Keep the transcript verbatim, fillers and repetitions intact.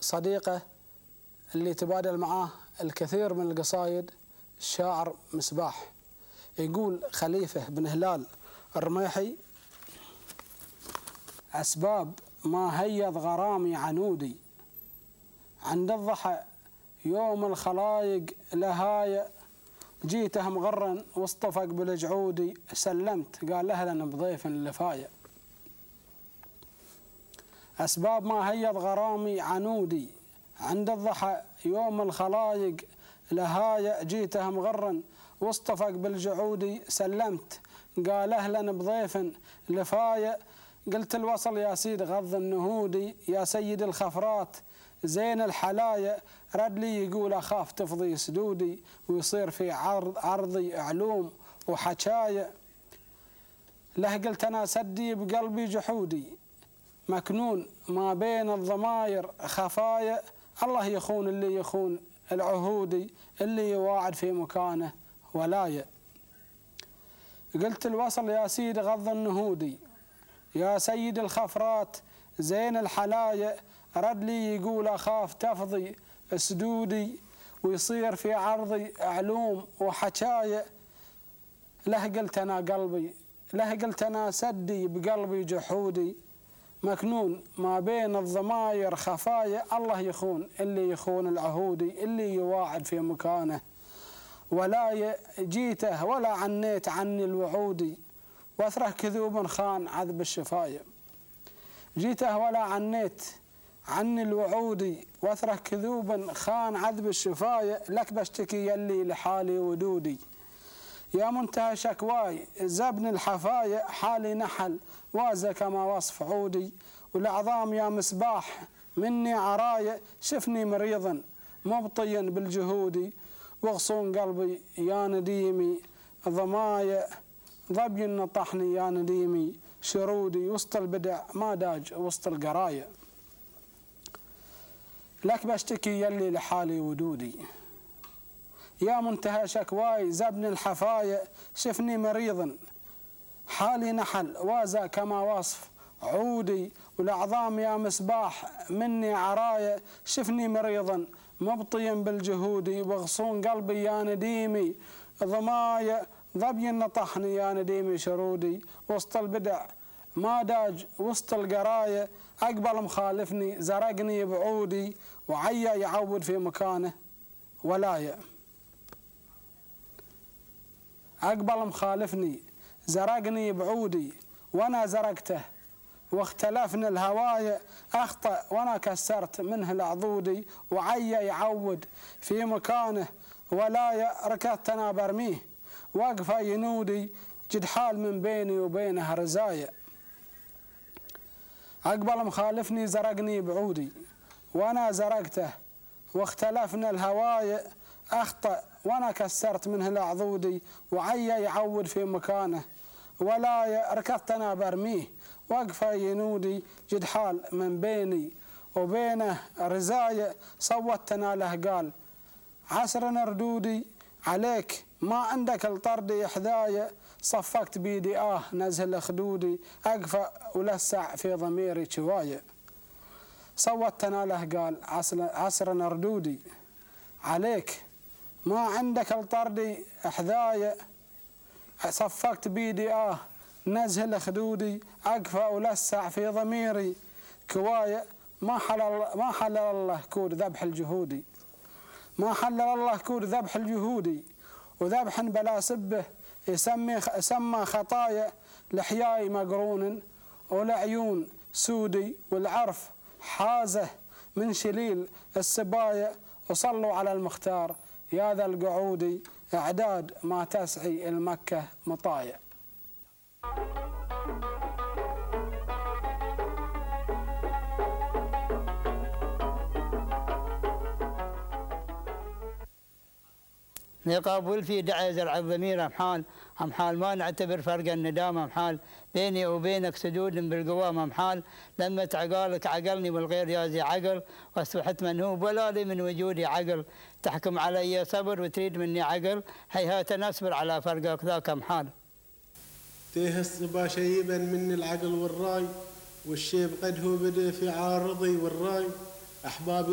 صديقه اللي تبادل معاه الكثير من القصايد الشاعر مصباح. يقول خليفة بن هلال الرميحي: أسباب ما هيض غرامي عنودي، عند الضحى يوم الخلايق لهاية، جيته مغرا واصطفق بالجعودي، سلمت قال أهلا بضيف لفاية. أسباب ما هيض غرامي عنودي، عند الضحى يوم الخلايق لهاية، جيته مغرا واصطفق بالجعودي، سلمت قال أهلا بضيف لفاية. قلت الوصل يا سيد غض النهودي، يا سيد الخفرات زين الحلايا، رد لي يقول أخاف تفضي سدودي، ويصير في عرض عرضي علوم وحكاية. له قلت أنا سدي بقلبي جحودي، مكنون ما بين الضماير خفايا، الله يخون اللي يخون العهودي، اللي يواعد في مكانه ولاية. قلت الوصل يا سيد غض النهودي، يا سيد الخفرات زين الحلايا، رد لي يقول أخاف تفضي سدودي، ويصير في عرضي علوم وحكاية. له قلت أنا قلبي له قلت أنا سدي بقلبي جحودي، مكنون ما بين الضماير خفايا، الله يخون اللي يخون العهودي، اللي يواعد في مكانه ولا جيته ولا عنيت عني الوعودي، واثره كذوب خان عذب الشفاية. جيته ولا عنيت عني الوعودي، واثره كذوب خان عذب الشفاية، لك بشتكي يلي لحالي ودودي، يا منتهى شكواي زبن الحفاية، حالي نحل وازا كما وصف عودي، والعظام يا مصباح مني عراية، شفني مريضا مبطيا بالجهودي، واغصون قلبي يا نديمي ضمايا، ضبي نطحني يا نديمي شرودي، وسط البدع ما داج وسط القراية، لك بشتكي يلي لحالي ودودي، يا منتهى شكواي زبن الحفاية، شفني مريضا حالي نحل وازا كما وصف عودي، والأعظام يا مصباح مني عراية، شفني مريضا مبطيا بالجهودي، واغصون قلبي يا نديمي ضمايا، ضبي نطحني يا نديمي شرودي، وسط البدع ما داج وسط القراية، أقبل مخالفني زرقني بعودي، وعيا يعود في مكانه ولاية. أقبل مخالفني زرقني بعودي، وانا زرقته واختلفنا الهوايا، أخطأ وانا كسرت منه العضودي، وعيا يعود في مكانه ولاية، ركضت انا برميه وقفه ينودي، جد حال من بيني وبينه رزايا. أقبل مخالفني زرقني بعودي، وانا زرقته واختلفنا الهوايا، أخطأ وانا كسرت منه العضودي، وعيا يعود في مكانه ولاية، ركضت انا برميه وقفه ينودي، جد حال من بيني وبينه رزايا. صوتنا له قال عسرنا ردودي، عليك ما عندك الطرد حذايا، صفقت بيدي آه نزل خدودي، أقفى ولسع في ضميري شواية. صوتنا له قال عسرنا ردودي، عليك ما عندك الطرد حذايا، صفقت بيدي آه نزل خدودي، أقفى ولسع في ضميري كواية. ما حلل ما حلل الله كود ذبح الجهودي، ما حلل الله كود ذبح الجهودي، وذبح بلا سبه يسمي سمى خطايا، لحياي مقرون ولعيون سودي، والعرف حازه من شليل السبايا، وصلوا على المختار يا ذا القعودي، اعداد ما تسعي المكة مطايا. نقابل في دعاء زرع الضمير أمحال أمحال، ما نعتبر فرق الندام أمحال، بيني وبينك سدود بالقوام أمحال، لما عقالك عقلني والغير يازي عقل، واصبحت منهوب ولا لي من وجودي عقل، تحكم علي صبر وتريد مني عقل، هيهات نصبر على فرقك ذاك أمحال. تيه الصبا شيبا مني العقل والراي، والشيب قد هو بدأ في عارضي والراي، أحبابي